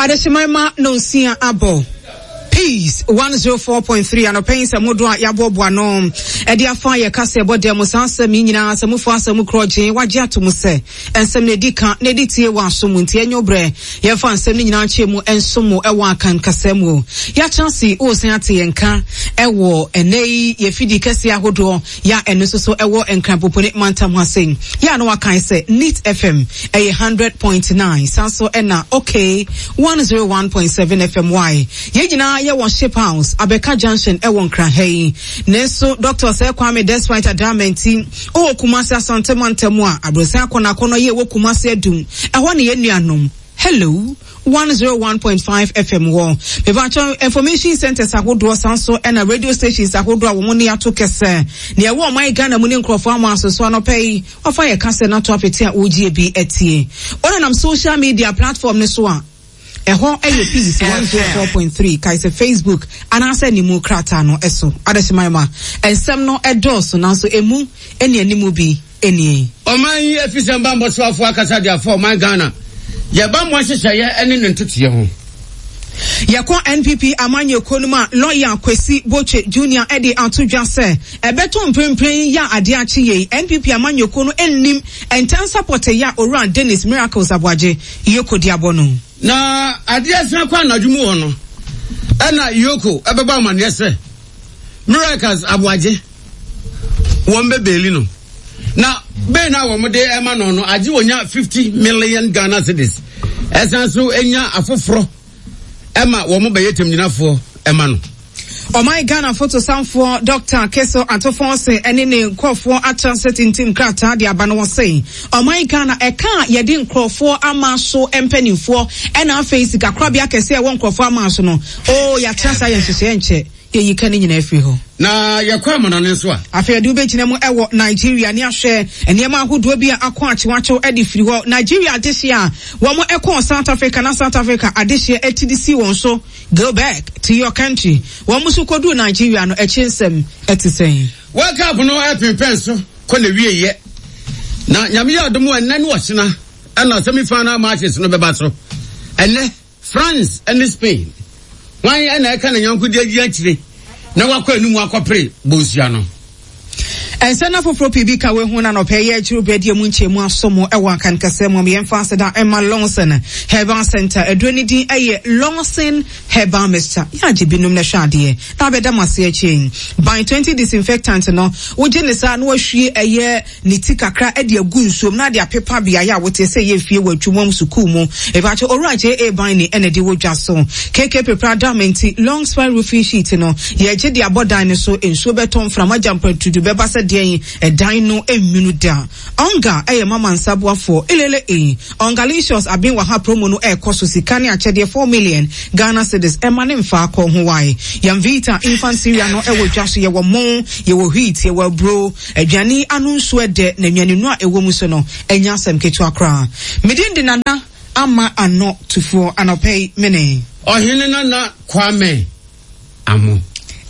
Adehyeman ma nonsia abɔ. Peace 104.3 anɔpɛ yi nsɛm hodoɔ a yɛaboaboa no ɛde afa yɛ kasa ɛbɔ dɛm mu saa nsɛm yi nyinaa sɛ mufoɔ asɛm korɔ gye wagye ato mu sɛ nsɛm na ɛdi ka na ɛdi tie wɔ aso mu nti ɛnyɛ obrɛ yɛmfa nsɛm no nyinaa nkyɛ mu nso mu ɛwɔ akan kasa mu yɛatena ase wosan ate yɛn nka ɛwɔ ɛnɛ yi yɛfidi kɛseɛ ahodoɔ Yɛ a ɛno nso so ɛwɔ Nkran Popone mantam ha sei. Yɛ a na wakan sɛ Neat FM ɛyɛ 100.9 san so ɛna OK 101.7 FM Y. Yɛn nyinaa yɛ wɔ Ship House, Abɛka Junction ɛwɔ Nkran ha yi. Nanso Dr. Osei Kwame Despite Adamanti ɔwɔ Kumasi Asante mantam a Abrosan Akɔnɔakɔnɔ yɛ ɛwɔ Kumasi Adum. Ɛhɔ ne yɛn nuanom. Hello 101.5 FM wɔ. Mepakyɛw, information centers ahodoɔ san so ɛna radio stations ahodoɔ a wɔn ne ato kɛsɛ. Nea ɛwɔ ɔman Ghana mu ne nkurɔfoɔ ama aso so anɔpa yi, wafa yɛ kasɛ no ato apete a wɔregye bi atie. Wonenam social media platform no so a, ɛhɔ yɛ Peace 104.3, kae sɛ Facebook anaasɛ ne mu krataa no so. Adehyeman ma nsɛm no ɛdɔɔso nanso emu ne animu bi nie. Ɔman yi afisɛm bammɔ soafoɔ akasa de afa ɔman Ghana yɛ bammɔ nhyehyɛeɛ ne ne ntotoeɛ ho. Yɛkɔ NPP amanyɔkuo no mu a, Lɔya Kwesi Botwe Junior de ato dwa sɛ ɛbɛto mprempren yi a adeɛ akye yei, NPP amanyɔkuo no nnim ntansa pɔtee a Owura Dennis Miracles Aboagye Yoko de abɔ no. Na adeɛ asan kɔ anadwo mu hɔ no, ɛna Yoko bɛbɔ amaneɛ sɛ Miracles Aboagye wɔn bɛ beeli no na bɛn na wɔn de ɛma no no agye wɔnya 50 million Ghana cedis ɛsan so enya afoforɔ ɛma wɔn bɛyɛ tɛmgyinafoɔ ɛma no. Ɔman Ghana fotosanfoɔ Dɔkta Keso Ato-Forson ne ne nkurɔfoɔ atra sɛ tintim krataa de aba no wɔse ɔman Ghana ɛka a yɛde nkurɔfoɔ ama so mpanimfoɔ ɛna afei sikakorabea kɛseɛ ɛwɔ nkurɔfoɔ ama so no oo yɛatra saa yɛ nhyehyɛeɛ nkyɛ Yɛyi ka no nyinaa firi hɔ. Na yɛkɔ amanɔne nso a. Afei yɛde wo bɛgyina mu wɔ Nigeria ne ahwɛ nneɛma ahodoɔ bi a akɔ akyewakyew de firi hɔ. Nigeria adehyeɛ a wɔn kɔɔ South Africa na South Africa adehyeɛ ti de sii wɔn so, go back to your country. Wɔn nso kɔduu Nigeria no akyire nsɛm te sɛn? World Cup no ɛpempɛn so kɔ n'awieɛ na Nyame yɛ adom a ɛnnɛ ne ɔkyena ɛna semi final matches no bɛba so. Ɛnnɛ France ne Spain, hwan na ɛka ne yɔnko de adi akyire na wakɔ anim akɔpere bonsua no? Nsɛm afoforɔ pii bi ka wei ho na nɔpɛ yɛ akyiri berɛ deɛ mu nkyɛmu aso mo wɔ Akan kasa mu. Yɛmfa aseda mma Lawson Herbal Center. Aduro no din yɛ Lawson Herbal Mixture. Yɛ agye binom na hwɛ adeɛ na abɛda mo ase akyire yi. Ban 20 disinfectant no, wogye ne saa na wahwie ɛyɛ ne ti kakra de agu nsuom na de apepa beaeɛ a woteɛ sɛ ɛyɛ fie wɔ atwumam sukuu mu. Mepakyɛ Owura JA Biney na ɛde wɔ dwa so. KK Pepra Dam nti long span roofing sheet no yɛgye de abɔ dan no so, nsuo bɛtɔ, mframa gya mprɛntudu bɛba sɛ deɛn, ɛdan no nnwunu da. Onga yɛ mama nsa boafoɔ. Elele ei. Ongalicious aben wɔ ha promo no ɛrekɔ so sika ne akyɛdeɛ 4 million Ghana cedis ɛma ne mfaa kɔ ho wae. Yamvita infant cereal no ɛwɔ dwa so yɛwɔ mo, yɛwɔ wheat, yɛwɔ aburo. Aduane yi ano nsuo ɛdɛ na nnuanennuro a ɛwɔ mu nso no, ɛnyɛ asɛm ketewa koraa. Me din de Nana Ama Ano Tufoɔ. Anɔpa yi, me ne. Ɔhene Nana Kwame Amoh.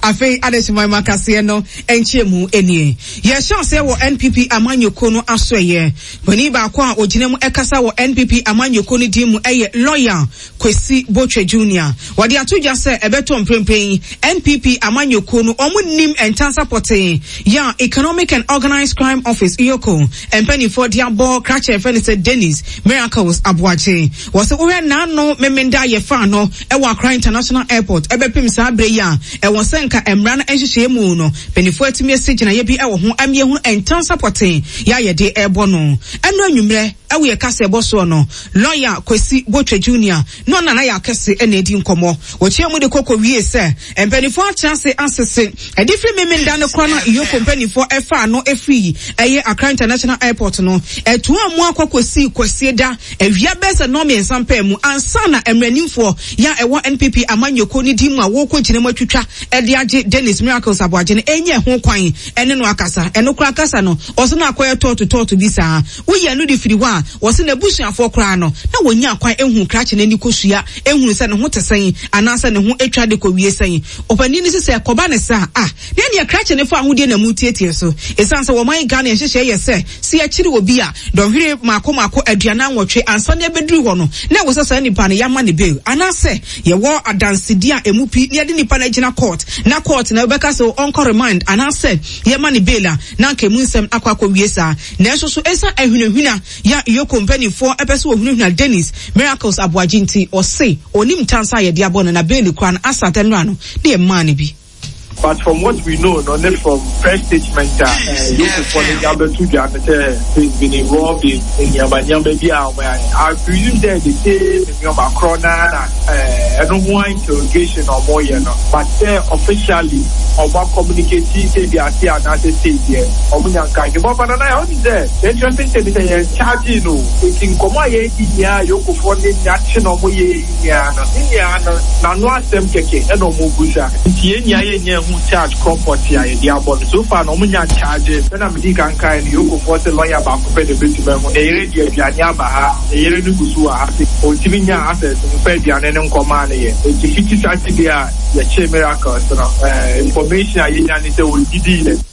Afei Adehyeman mu akaseɛ no nkyerɛmu nie. Yɛhyɛ aseɛ wɔ NPP amanyɔkuo no asoɛeɛ. Panin baako a ɔgyina mu kasa wɔ NPP amanyɔkuo no din mu yɛ Lɔya Kwesi Botwe Junior. Wɔde ato dwa sɛ ɛbɛtɔ mprempren yi, NPP amanyɔkuo no wɔn nnim ntansa pɔtee yɛ a Economic and Organised Crime Office, EOCO, mpaninfoɔ de abɔ krakye a yɛfrɛ no sɛ Dennis Miracles Aboagye. Wɔse wohwɛ n'ano Memenda a yɛfaa no wɔ Accra International Airport ɛbɛpem saa berɛ yi a, ɛwɔ sɛ nka mmara no nhyehyɛeɛ mu no mpaninfoɔ atumi asi gyinaeɛ bi wɔ ho ama yɛahunu ntansa pɔtee yɛ a yɛde rebɔ no. Ɛno anwummerɛ wɔ yɛn kaseɛbɔ soɔ no, Lɔya Kwesi Botwe Junior ne ɔne Nana Yaw Kɛse na edi nkɔmmɔ. Wɔkyiaa mu de kɔ kowiee sɛ, Mpanimfoɔ atra ase asese. Ɛde firi Memenda no korɔ no a EOCO mpanimfoɔ faa no firii ɛyɛ Accra International Airport no, ɛtoaa mu akɔ kɔsii Kwasieda awia bɛyɛ sɛ nnɔnmiɛnsa mpaa mu ansa na mmaranimfoɔ yɛ a ɛwɔ NPP amanyɔkuo no din mu a wɔrekɔgyina mu atwitwa de. yɛagye Dennis Miracles Aboagye no ɛnyɛ ho kwan ɛne no akasa. Ɛno koraa kasa no, ɔse na akɔyɛ tɔɔto tɔɔto bi saa. Woyi ɛno de firi hɔ a, wɔse n'abusuafoɔ koraa no, na wɔnnya kwan nhuu krakye no ani kosua nhunu sɛ ne ho te sɛn anaasɛ ne ho atwa de kɔwie sɛn. Ɔpanin no se sɛ ɛkɔba no saa a, na ɛneɛ krakye no fa ahodie na motiatia so. Ɛsiane sɛ wɔman Ghana nhyehyɛeɛ yɛ sɛ, sɛ yɛkyere obi a, dɔnhwere mmaako mmaako 48 ansa na yɛbɛduru hɔ no, na ɛwɔ sɛ saa nipa no yɛama no bail anaasɛ yɛwɔ adansedie a ɛmu pi na yɛde nipa no agyina court na court na ɛbɛka sɛ ɔnkɔ remand anaasɛ yɛma no bail a, na anka ɛmu nsɛm akɔ akɔwie saa. Nanso so esiane ahunahuna yi a EOCO mpanimfoɔ pɛ sɛ wɔhunahuna Dennis Miracles Aboagye nti, ɔse ɔnim ntansa a yɛde abɔ no na bail koraa no asa atɛn mmra no na yɛmmaa no bi. But from what we know no ne from press statement a EOCO foɔ no de abɛto dwa no sɛ he's been involved in nneɛma nneɛma bi a wɔn ayɛ. I presume sɛ the same nneɛma korɔ no ara na ɛno ho interrogation na wɔyɛ no but sɛ officially wɔn a communicate sɛ bi ase anaasɛ sei deɛ wɔn nya nka nhwɛ but nana yɛ ɔnim sɛ the interesting thing sɛ yɛn charge no eti nkɔmɔ a yɛredi nyinaa yokofoɔ ne nea kye na wɔn yɛ yi nyinaa no ne nyinaa no n'ano asɛm kɛkɛ ɛna wɔn busa nti yɛn nyinaa yɛn nyɛ ho charge korɔ pɔte a yɛde abɔ no so far na wɔn nya charge sɛnea medi kan kae no yokofoɔ sɛ lawyer baako pɛ na ebetumi ahu ne yere de aduane aba ha. Ne yere no gu so wɔ ha se ɔntumi nyaa access mfa aduane no nkɔmaa no yɛ. Enti fiti Saturday a yɛkyee Miracles no, information a yɛnya ne sɛ ɔnnidii yɛ.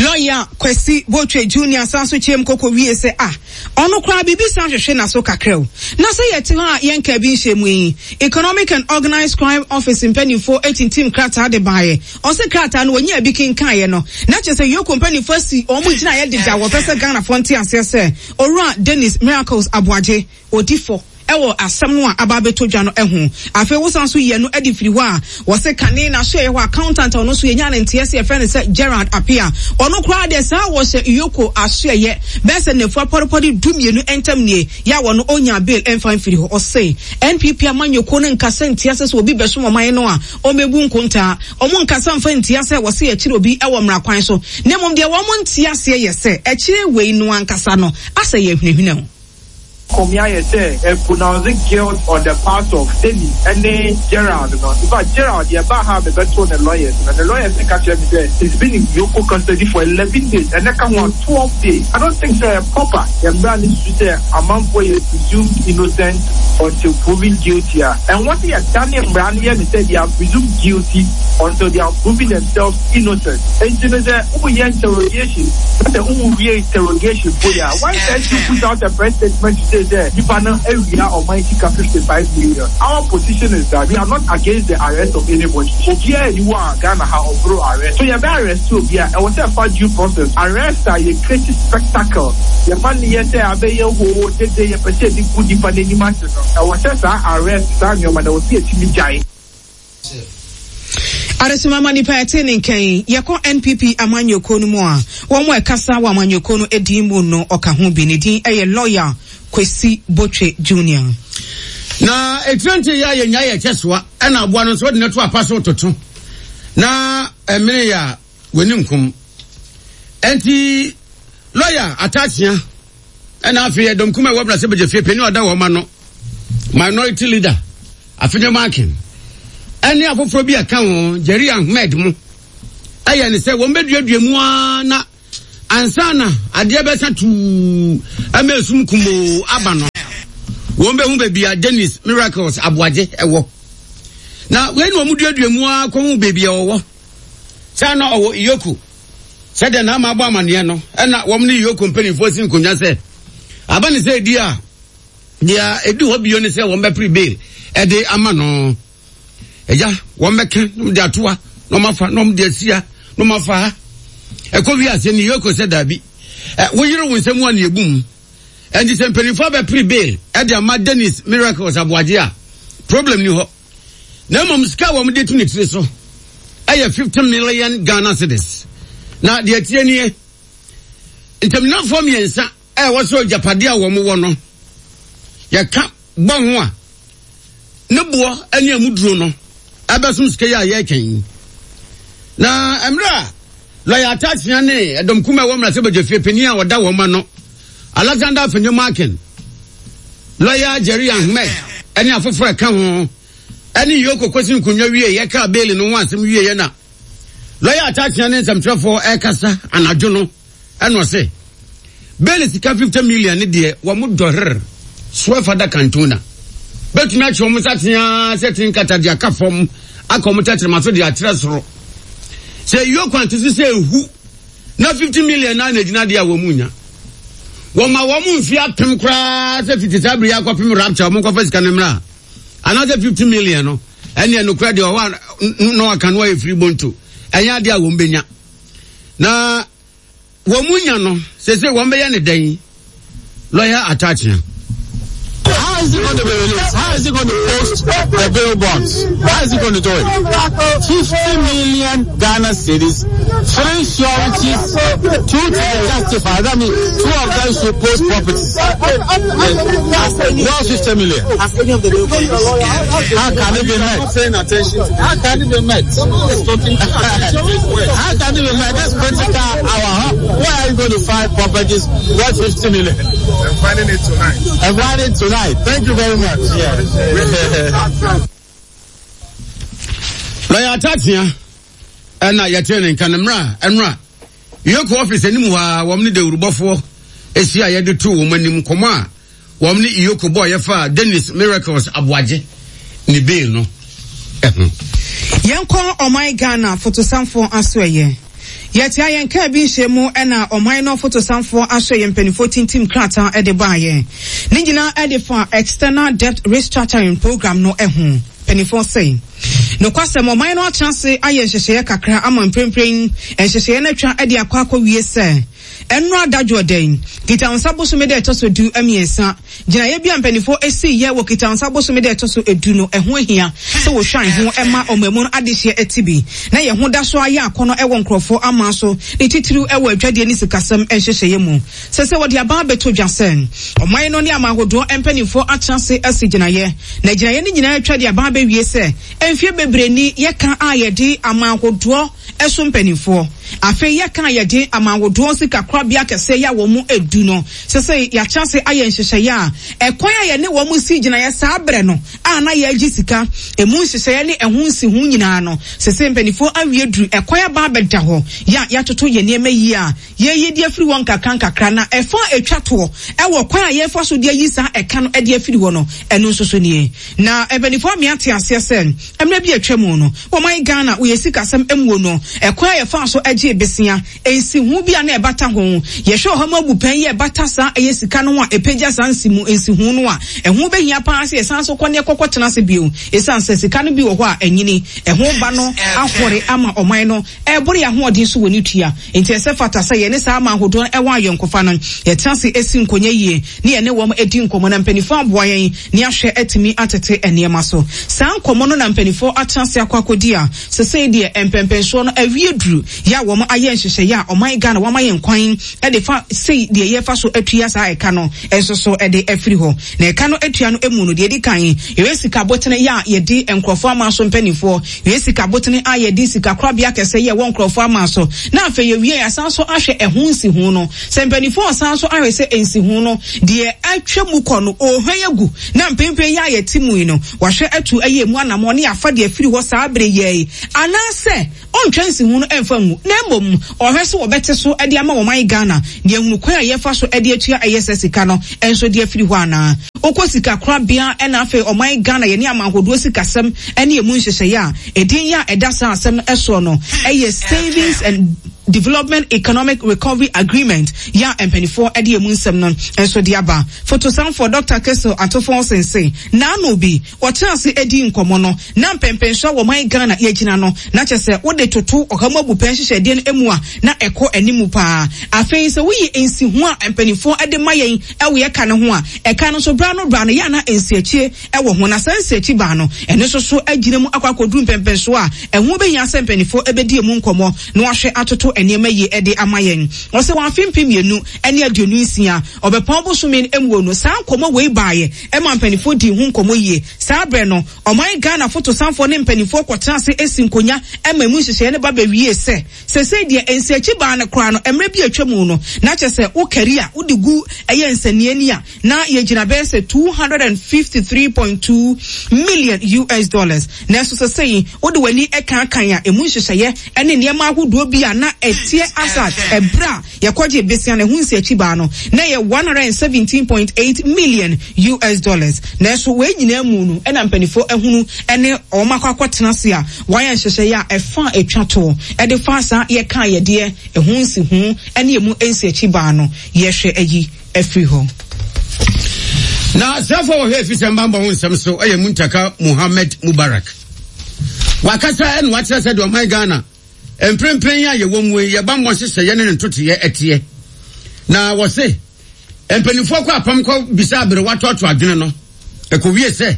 Lɔya Kwasi Botwe Junior san so kyeam koko wie sɛ, Ah, ɔno koraa biribi san hwehwe n'aso kakra o. Na sɛ yɛte hɔ a yɛnkaa bi nhyɛɛ mu yi, Economic and Organised Crime Office mpanimfoɔ tintim krataa de baeɛ. Ɔse krataa no wɔnyaa bi kenkaeɛ no, na kyerɛ sɛ Yoko mpanimfoɔ asi wɔn gyinaeɛ dedaw, wɔpɛ sɛ Ghanafoɔ nte aseɛ sɛ Owura Dennis Miracles Aboagye, ɔdi fɔ wɔ asɛm no a aba abɛtɔ dwa no ho. Afei wosan nso yi ɛno adi firi hɔ a, wɔse kane n'asoɛeɛ hɔ accountant a ɔno nso yɛnyaa no nteɛ sɛ yɛfrɛ no sɛ Gerald Appiah. Ɔno koraa deɛ saa wɔhyɛ Yoko asoɛeɛ bɛyɛ sɛ nnafua pɔrepɔre dumienu ntam nie yɛ a wɔno ɔnyaa bail mfa mfiri hɔ. Ɔse NPP amanyɔkuo no nkasa ntia sɛ sɛ obi bɛsom ɔman no a ɔmmɛbu nkontaa. Wɔn nkasa mfa ntia sɛ wɔse yɛkyere obi wɔ mmara kwan so, na mmom deɛ wɔn nte aseɛ yɛ sɛ ɛkyere wei no ankasa no asɛ yɛ ahunahuna o. Kɔmi ayɛ sɛ ɛ pronounce guilt on the part of Dennis ne Gerald no. In fact Gerald deɛ ɛbaa ha a me bɛtoo ne lawyers no, ne lawyers no ka kyerɛ me sɛ he's been in EOCO custody for 11 days, ɛnɛ ka ho a 12 days. I don't think sɛ ɛyɛ proper. Yɛn mmara no susu sɛ amanfoɔ yɛ presumed innocent until proven guilty a, ɛnwɔ sɛ yɛdane mmara no yɛ no sɛ they are presumed guilty until they are proven themselves innocent. Enti no sɛ woyɛ interrogation na sɛ wonwie interrogation mpo yɛ a, why can't you put out a press statement to say sɛ nipa no awia ɔman sika 55 million? Our position is that we are not against the arrest of anybody. Obiara nni hɔ a Ghana ha ɔboro arrest. So yɛbɛ arrest obi a, ɛwɔ sɛ ɛfa due process. Arrest a yɛ create spectacle, yɛma no yɛ sɛ abɛyɛ hoo dede, yɛpɛ sɛ yɛde gu nipa no anim ase no, ɛwɔ sɛ saa arrest, saa nneɛma no, ɛwɔ sɛ yɛtumi gyae. Adesoma ma nipa ɛte ne nkan. Yɛkɔ NPP amanyɔkuo no mu a, wɔn a ɛkasa wɔ amanyɔkuo no din mu no ɔka ho bi. Ne din yɛ Lawyer Kwesi Botwe Junior. Na etire nte yɛ a yɛnya yɛ kyɛ soa ɛna aboa no nso wɔde no to apa so toto na ɛmene yɛ a wɔni nkom. Ɛnti lɔya Atakyea ɛna afei ɛdɔm kuma ɛwɔ brasɛ bɛgya fie panin ɔda wɔn ano minority leader Afenyo Markin ɛne afoforɔ bi a ɛka ho Jerry Ahmed mo ɛyɛ ne sɛ wɔn bɛduadua mu ara na ansa na adeɛ bɛsa tuu ɛma esum kumoo aba no wɔn bɛhu baabi a Dennis Miracles Aboagye ɛwɔ na wei na wɔn duadua mu ara kɔhu baabi a ɔwɔ sɛ na ɔwɔ Iyoku sɛdeɛ na ama abɔ amaneɛ no ɛna wɔn ne Iyoku mpanimfoɔ si nkonnwa sɛ aba ne sɛ edi a deɛ edi hɔ bio ne sɛ wɔn bɛpere bail ɛde ama no. Agya, wɔn bɛka na wɔn de atoa na wɔn afa na wɔn de asia na wɔn afa ha. Ɛkɔ wi ase ne yoko sɛ daabi. Ɛ woyere wo nsɛm a na ebu mu. Ɛnti sɛ mpanimfoɔ abɛpere bail ɛde ama Dennis Miracles Aboagye a, problem ni hɔ. Na mmom sika a wɔn de to ne tiri so ɛyɛ 50 million Ghana cedis. Na deɛ ɛteɛ nie, ntamgyinafoɔ mmiɛnsa a ɛwɔ sɛ agyapadeɛ a wɔn wɔ no, yɛka bɔ ho a, ne boɔ ne ɛmu duro no ɛbɛsom sika yi a yɛreka yi. Na mmerɛ a lɔya Atakyea ne ɛdɔm kuma ɛwɔ mmarahyɛbadwafie panin a ɔda wɔn ano Alexander Afenyo Markin, lɔya Jerry Ahmed ɛne afoforɔ ɛka ho. ne Yoko kɔsi nkonnwa wieeɛ kaa beeli no ho asɛm wieeɛ na lɔya Atta-Akyea ne nsɛmtwerɛfoɔ ɛrekasa anadwo no ɛna ɔse beeli sika 50 million ne deɛ wɔn dɔher soɛ fada Cantona bɛtumi atwe wɔn nsa teaa sɛ tene nkata de aka fam aka wɔn tɛkyerɛma so de akyerɛ soro sɛ Yoko ante so sɛ ehu na 50 million na na egyina deɛ a wɔn nya wɔma wɔn mfe apem koraa sɛ fiti saa bere yi akɔpem rapture wɔn nkɔfa sika no mmra anaasɛ 50 million no ɛneɛ nokorɛ deɛ ɔwɔ a na waka no ayɛ firi bonto ɛnyɛ adeɛ a wɔn bɛnya na wɔn mu nya no sese wɔn bɛyɛ ne dɛn lɔya atakyea. How is he going to be released? How is he going to post the bail bonds? How is he going to do it? 50 million Ghana cedis, three sureties, two to justify. That means two of them should post properties. Not 50 million. How can it be met? How can it be met? How can it be met? That's critical hour. Where are you going to find properties worth 50 million? I'm finding it tonight. I'm finding it tonight. Thank you very much. Yeah. Lɔya Atatea ɛna yɛtee ne nka no mmerɛ a ɛnora Yoko office anim hɔ a wɔn ne dawurubɔfoɔ esi a yɛde to wɔn anim nkɔmɔ a wɔn ne Iyoko bɔɔ yɛfa Dennis Miracles Aboagye ne bail no ho. Yɛnkɔ ɔman Ghana fotosanfoɔ asoɛeɛ. Yɛtea yɛn kaa bi nhyiamu na ɔman no fotosanfoɔ asoɛeɛ mpaninfoɔ tintim krataa de baeɛ. Ne nyinaa de fa External Debt Restructuring Programme no ho. Mpaninfoɔ se, nokwasɛm ɔman no atena ase ayɛ nhyehyɛeɛ kakra ama mprempren nhyehyɛeɛ no atwa de akɔ akɔwie sɛ Ɛnnora adadwoɔ da yi, Kitawonsa bosome da a ɛtɔ so du-mmiɛnsa, gyinaeɛ bi a mpaninfoɔ siiɛ wɔ Kitawonsa bosome da a ɛtɔ so du no, ɛho ahia sɛ wɔhwan ho ma ɔmanmu no adehyeɛ ti bi na yɛn ho da so ara yɛ akɔnnɔ wɔ nkorɔfoɔ aman so, ne titiriw wɔ adwadie ne sikasɛm nhyehyɛeɛ mu. Sɛ sɛ wɔde aba abɛto dwa sɛ ɔman no ne aman ahodoɔ mpaninfoɔ atena ase asi gyinaeɛ, na gyinaeɛ no nyinaa atwa de aba abɛwie sɛ mfeɛ bebree ni yɛka a yɛde aman ahodoɔ so mpanimfoɔ. Afei yɛka a yɛde amanhodoɔ sikakorabea kɛseɛ yi a wɔn du no, sesei yɛakyɛ ase ayɛ nhyehyɛeɛ a ɛkwan a yɛne wɔn si gyinaeɛ saa berɛ no a na yɛregye sika, ɛmu nhyehyɛeɛ ne ɛho nsiho nyinaa no, sesei mpanimfoɔ awie duru ɛkwan aba abɛda hɔ yɛ a yɛatoto yɛn nneɛma yie a yɛreyi de afiri hɔ nkakra nkakra na ɛfa a ɛtwa toɔ wɔ kwan a yɛrefa so de ayi saa ɛka no de afiri hɔ no, ɛno nso so nie. Na mpanimfoɔ amea te aseɛ sɛ mmerɛ bi a atwa mu no, Ɔman Ghana wɔ yɛn sikasɛm muo no, ɛkwan a yɛfaa so gyee besea, nsiho bi a na ɛbata ho. Yɛhwɛ ɔha mu abupɛn yi a ɛbata saa ɛyɛ sika no ho a ɛpagya saa nsimu, nsiho no a, ɛho bɛhia paa sɛ yɛsan so kɔ na yɛkɔkɔ tena ase bio. Ɛsiane sɛ sika no bi wɔ hɔ a anyini, ɛho ba no ahɔre ama ɔman no ɛreboro yɛn ahoɔden so wɔ ne tua. Enti ɛsɛ fata sɛ yɛne saa aman ahodoɔ no wɔ ayɔnkofa no, yɛtena ase si nkonya yie ne yɛne wɔn di nkɔmmɔ na mpanimfoɔ aboa yɛn ne ahwɛ atumi atete nneɛma so. Saa nkɔmmɔ no na mpanimfoɔ atena ase akɔ akɔdi a sesei deɛ mpɛnpɛnsoɔ no awie duru yɛ a wɔn ayɛ nhyehyɛeɛ a ɔman Ghana wɔama yɛn kwan de fa sei deɛ yɛfa so atua saa ɛka no nso so de afiri hɔ. Na ɛka no atua no mu no deɛ ɛdi kan yɛyɛ sika abotene yɛ a yɛdi nkurɔfoɔ aman so mpanimfoɔ, yɛyɛ sika abotene a yɛdi sika korabea kɛseɛ yɛ ɛwɔ nkurɔfoɔ aman so na afei yɛwie yɛasan so ahwɛ ɛho nsiho no. Sɛ mpanimfoɔ ɔsan so ahwɛ sɛ nsiho no deɛ atwa mu kɔ no ɔrehwan agu na mprempren yi a yɛte mu yi no wahwɛ atu ayi emu anamɔn ne afa deɛ afiri hɔ saa bere yi ara yi anaasɛ ɔntwa nsiho no mfa ngu na mmom ɔhwɛ sɛ wɔbɛte so de ama ɔman Ghana na yɛahunu kwan a yɛfa so de atua ɛyɛ sɛ sika no nso de afiri hɔ anaa. Wokɔ sika korabea na afei ɔman Ghana yɛne aman ahodoɔ sikasɛm ne emu nhyehyɛeɛ a edin yi a ɛda saa asɛm no soɔ no yɛ Savings and Development Economic Recovery Agreement yɛ a mpaninfoɔ de emu nsɛm no nso de aba. Fotosanfoɔ Dɔkta Kessel Atofonsen se naano bi wɔtena ase dii nkɔmmɔ no na mpɛnpɛnsoɔ a wɔman Ghana yɛgyina no na kyerɛ sɛ wode toto ɔha mu abupɛn nhyehyɛdeɛ no mu a na ɛkɔ animu paa. Afei sɛ woyi nsiho a mpaninfoɔ de ma yɛn wɔ yɛ ka no ho a, ɛka no nso berɛ ano berɛ ano yɛ a na nsiakyie wɔ ho na saa nsiakyi baa no ɛno nso so agyina mu akɔ akɔduru mpɛnpɛnsoɔ a ɛho bɛhia sɛ mpaninfoɔ bɛdi ɛmu nkɔmmɔ na wɔahwɛ atoto. nneɛma yie de ama yɛn. Ɔsɛ wɔ afe 2026 Ɔbɛpɔn bosome no muo no, saa nkɔmmɔ wei baeɛ ma mpanimfoɔ dii ho nkɔmmɔ yie. Saa berɛ no, ɔman Ghana fotosanfoɔ ne mpanimfoɔ kɔtenaa ase si nkonya ma emu nhyehyɛeɛ no ba bɛwiee sɛ, Seesei deɛ nsiakyi baa no koraa no, mmerɛ bi a atwa mu no, na kyerɛ sɛ wo kari a wode gu ɛyɛ nsania ni a, na yɛgyina bɛyɛ sɛ 253.2 million US dollars. Nanso seesei wode w'ani kankan a, emu nhyehyɛeɛ ne nneɛma ahodoɔ bi a na ɛteɛ as at ɛberɛ a yɛkɔgyee besia no, ɛho nsiakyi baa no, na ɛyɛ 117.8 million US dollars. Nanso wei nyinaa mu no, ɛna mpanimfoɔ ahunu ne wɔn akɔ akɔtena ase a wɔayɛ nhyehyɛeɛ a ɛfa a ɛtwa toɔ de fa saa yɛkaa yɛdeɛ ɛho nsiho ne ɛmu nsiakyi baa no, yɛhwɛ ayi afiri hɔ. Na asraafoɔ a wɔhwɛ afisɛm bammɔ ho nsɛm so yɛ Muntaka Muhammad Mubarak. Wakasa ɛna wakyerɛ sɛ deɛ ɔman Ghana mprempren yi a yɛwɔ mu yi yɛ bammɔ nhyehyɛeɛ ne ne ntotoeɛ ɛteɛ. Na wɔse mpanimfoɔ kɔ apam kɔ bisa aberewa toatoa adwene no ɛkɔwie sɛ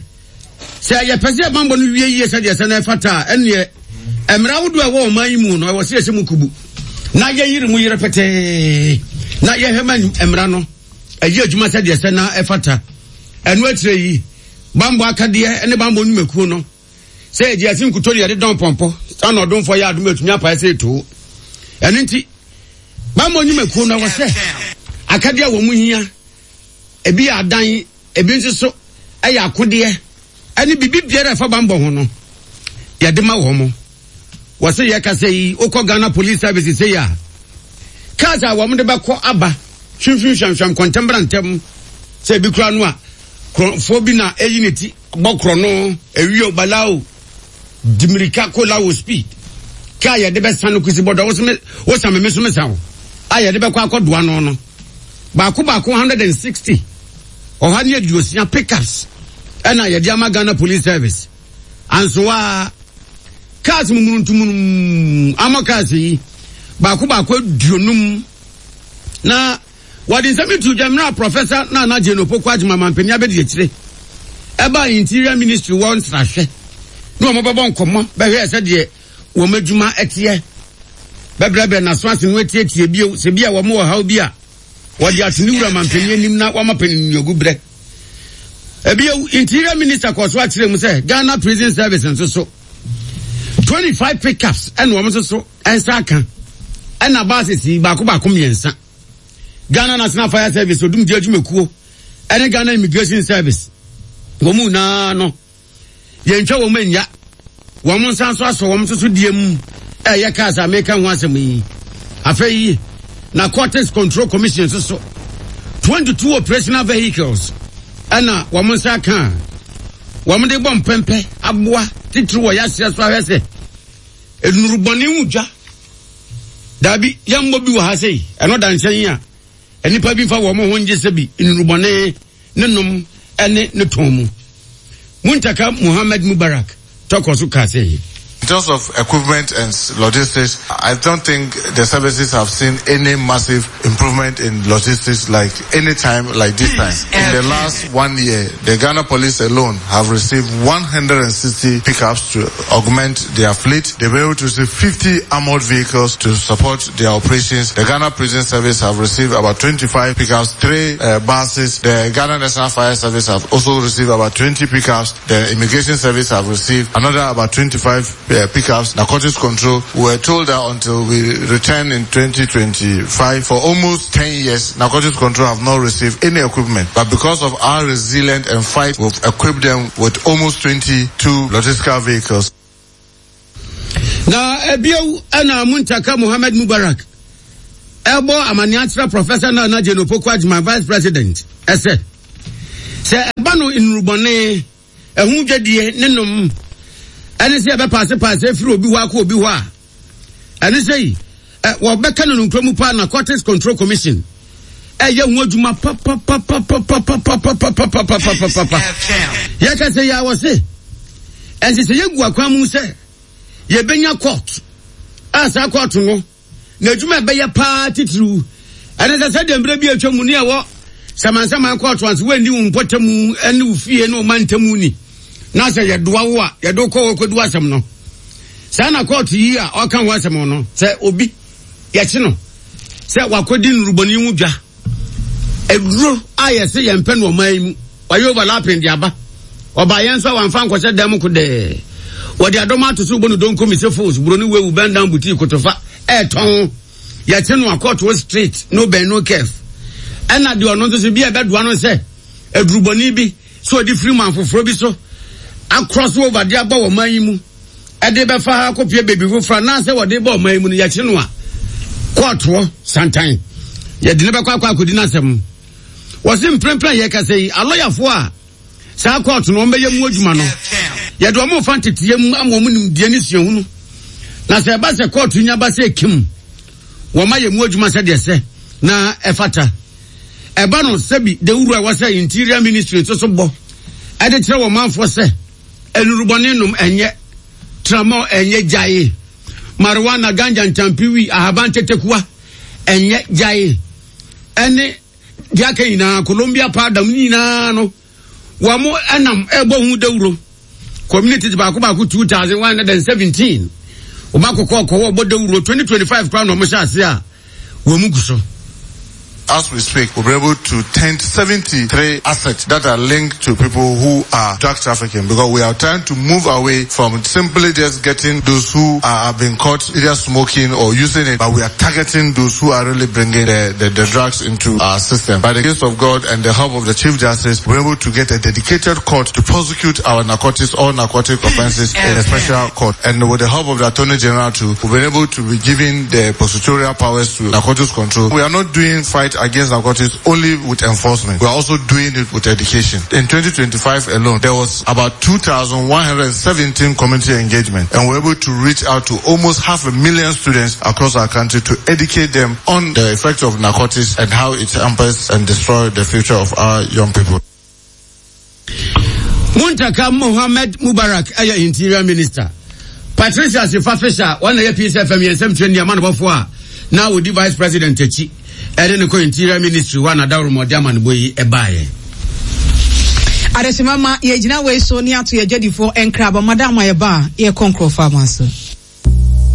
Sɛ yɛpɛ sɛ yɛn bammɔ no wie yie sɛdeɛ ɛsɛ na ɛfata a, ɛnneɛ mmara ahodoɔ a ɛwɔ ɔman yi mu no, ɛwɔ sɛ yɛhyɛ mu kubu na yɛyere mu yere pɛtɛɛ na yɛhwɛ ma mmara no ɛyɛ adwuma sɛdeɛ ɛsɛ na ɛfata. Ɛno akyire yi, bammɔ akadeɛ ne bammɔ nnwumakuo no, sɛ yɛgye ase nkuto ne yɛde dɔn pɔmpɔ, saa na ɔdomfoɔ yɛ adom atumi apae sɛ ɛtoo. Ɛno nti, bammɔ nnwumakuo no ɛwɔ sɛ akadeɛ a wɔn hia, ebi yɛ adan, Ebi nso so yɛ akodeɛ ne biribi biara a ɛfa bammɔ ho no, yɛde ma wɔn. Wɔse yɛkasa yi, wokɔ Ghana Police Service sei a, cars a wɔn de bɛkɔ aba hwimhwim hwamhwam kɔntɛm bra ntɛm sɛ ebi kura no a, korɔmfoɔ bi na eyi ne ti bɔ korɔno, ewio balao, di mirika kɔ lawo speed. Kaa yɛde bɛsa no kusi bɔdɔ, wosame me so mesa wo, a yɛde bɛkɔ akɔdoa no no. Baako baako 160, 160 pickups ɛna yɛde ama Ghana Police Service. Ansoaa cars mumuruntumunum ama cars yi baako baako 50 na wɔde nsɛm yi to dwa mmerɛ a Professor Nana Jane Opoku Agyemang mampanin abɛdi akyire ɛbaa Interior Ministry wɔ nsrahwɛ na wɔn bɛbɔ nkɔmmɔ bɛhwɛ sɛdeɛ wɔn adwuma teɛ, bɛbrɛbrɛ n'aso ase no atietie bio sɛ bi a wɔn wɔ haw bi a wɔde ato ne wura mampanin anim na wɔama panin nnuagu brɛ. Ebio, Interior Minister kɔɔ so akyerɛ mu sɛ Ghana Prison Service nso so 25 pickups ɛna wɔn nso so nsa aka ɛna buses yi baako baako mmiɛnsa. Ghana National Fire Service odumgye adwumakuo ɛne Ghana Immigration Service wɔn mu nyinaa no Yɛntwa wɔn nnya. Wɔn nsa nso asɔ wɔn nso so deɛ mu ɛyɛ cars a meka ho asɛm yi. Afei, Narcotics Control Commission nso so 22 operational vehicles ɛna wɔn nsa aka a wɔn de bɔ mpɛmpɛ aboa titiri wɔ yɛaseɛ so ahwɛ sɛ nnurubɔne ho dwa. Daabi, yɛmmɔ bi wɔ ha sei, ɛno da nkyɛn a nnipa bi mfa wɔn ho ngye sɛ bi nnurubɔne ne nom ne ne tɔn mu. Muntaka Muhammad Mubarak tɔkɔ so kaa sɛ. In terms of equipment and logistics, I don't think the services have seen any massive improvement in logistics like any time like this time. In the last one year, the Ghana police alone have received 160 pickups to augment their fleet. They were able to receive 50 armored vehicles to support their operations. The Ghana Prison Service have received about 25 pickups, three uh, buses. The Ghana National Fire Service have also received about 20 pickups. The Immigration Service have received another about 25 uh, pickups. Narcotics Control we were told that until we return in 2025, for almost 10 years, Narcotics Control have not received any equipment. But because of our resilient and fight, we've equipped them with almost 22 logistical vehicles. Na ebio ɛna Muntaka Mohammed Mubarak ɛbɔ amaneɛ akyerɛ Professor Nana Jane Opoku Agyemang Vice President ɛsɛ sɛ ɛba no nnurubɔne ɛho dwadie ne nom ɛne sɛ ɛbɛpaasepaase afiri obi hɔ akɔ obi hɔ a ɛne sɛ yi wɔbɛka no nonkura mu paa Narcotics Control Commission ɛyɛ ho adwuma papapapapapapapapapapapapa yɛka sɛ yɛ awɔ se ɛnsɛ sɛ yɛgu akwan mu sɛ yɛbɛnya court a saa court no n'adwuma ɛbɛyɛ paa titiriw ɛne sɛ sɛdeɛ mmerɛ bi atwa mu ne ɛwɔ samansaman kɔɔto anso woanni wo mpɔtamu ne wo fie ne wo mantamu ni na sɛ yɛdoa wo a yɛde wokɔ hɔ kɔdu asɛm no saa na kɔɔto yi a ɔka ho asɛm no sɛ obi. yɛkye no sɛ wakɔdi nnurubɔne ho dwa. Aduro a yɛse yɛmpɛ no ɔman yi mu, wayɛ overlapping de aba. Ɔbaa yɛn nso a wamfa ankɔhyɛ dan mu kodɛɛ. Wɔde adɔm ato so bɔ no donko mise fos, buroni wewu, bend down boutique, kotofa, ɛɛtɔn. Yɛkye no a kɔɔto street, no bend no curve. Ɛna deɛ ɔno nso so bi a ɛbɛdoa no sɛ adurubɔne bi sɛ ɔde firi man foforɔ bi so akorɔ so over de aba wɔ man yi mu ɛde bɛfa ha akɔpie baabi foforɔ anaasɛ wɔde ba ɔman yi mu no yɛkye no a kɔɔtoɔ santan yɛde no bɛkɔ akɔ akɔdi n'asɛm. Wɔse mprempren a yɛkasa yi alɔyafoɔ a saa kɔɔto no wɔbɛyɛ mu adwuma no yɛde wɔn fa nteteɛ mu ama wɔn nimdeɛ ne suahunu na sɛ ɛba sɛ kɔɔto nya ba sɛ ekim wɔn ayɛ mu adwuma sɛdeɛ sɛ na ɛfata. Ɛba no sɛbi dawuro a ɛwɔ sɛ Interior Ministry nso so bɔ ɛde kyerɛ wɔn manfoɔ sɛ nnurubɔne nom ɛnyɛ, tramol ɛnyɛ gyae, marijuana, ganja, ntampi, wi, ahaban tetekua ɛnyɛ gyae, ɛne deɛ aka nyinaa, Colombia powder mu nyinaa no wɔn ɛnam ɛbɔ ho dawuro. Communities baako baako 2117 wɔn akokɔ kɔwɔ bɔ dawuro 2025 koraa na wɔn hyɛ ase a wɔn gu so. As we speak, we'll be able to tend 73 assets that are linked to people who are drug trafficking because we are trying to move away from simply just getting those who are, have been caught either smoking or using it, but we are targeting those who are really bringing the, the, the drugs into our system. By the grace of God and the help of the Chief Justice, we're able to get a dedicated court to prosecute our narcotics, all narcotic offenses in a special court. And with the help of the Attorney General too, we've been able to be giving the prosecutorial powers to narcotics control. We are not doing fight against narcotics only with enforcement. We are also doing it with education. In 2025 alone, there was about 2,117 community engagement and we were able to reach out to almost half a million students across our country to educate them on the effect of narcotics and how it hampers and destroys the future of our young people. Muntaka Mohammed Mubarak ɛyɛ Interior Minister. Patricia Asifa Fisher wɔn na yɛ Peace FM yɛn nsɛm kyerɛ nneɛma no a na ɔdi Vice President akyi ɛde ne kɔ Interior Ministry hɔ a na dawuromɔde amanebɔ yi ɛbaeɛ. Adehyema ma yɛgyina wei so ne ato yɛ adwadifoɔ nkraba madam a yɛba a yɛkɔ nkurɔfoɔ ama so.